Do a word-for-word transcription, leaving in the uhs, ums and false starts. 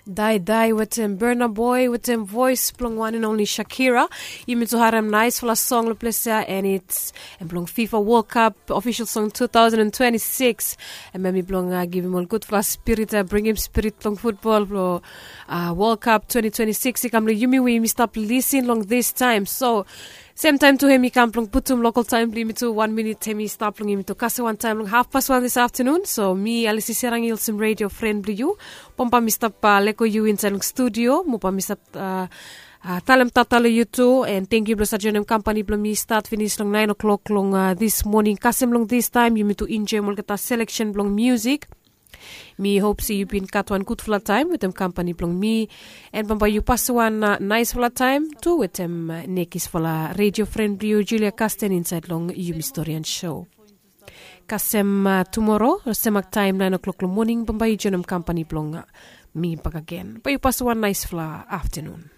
Daidai wetem Burna Boy wetem voes blong wan and only Shakira. Yumi tu harem naisfala song long ples ya, and it's em blong FIFA World Cup official song two thousand and twenty-six. Em em i blong uh, givim ol gudfala spirit, uh, bringim spirit blong futbol blong uh, World Cup twenty twenty-six i kam long yumi we yumi stap lisin long this time. So sem taim tu hem i kam blong putum lokal taim blong yumi tu wan minit hem i stap long yumi tu kasem wan taim long hafpas wan this afternoon. So mi Alisi Serang i olsem radio friend blong yu. Bambae mi stap uh, leko yu insait long studio mo bae mi stap uh, uh, talem tata long yu tu, and thank you blong save joinim kampani blong mi start finish long nine o'clock long uh, this morning kasem long this time yumi tu enjoyim olgeta selection blong music. Mi hope se yu bin gat wan gudfala taim wetem kampani blong mi, and bambae yu pas wan uh, naisfala taim tu wetem uh, nekisfala radio friend blong yu Julia Kasten insait long yumi storian show. Kasem uh, tumoro semak taim nine o'clock long morning bambae yu joinim kampani blong uh, mi bakagen. Bae yu pas wan naisfala afternoon.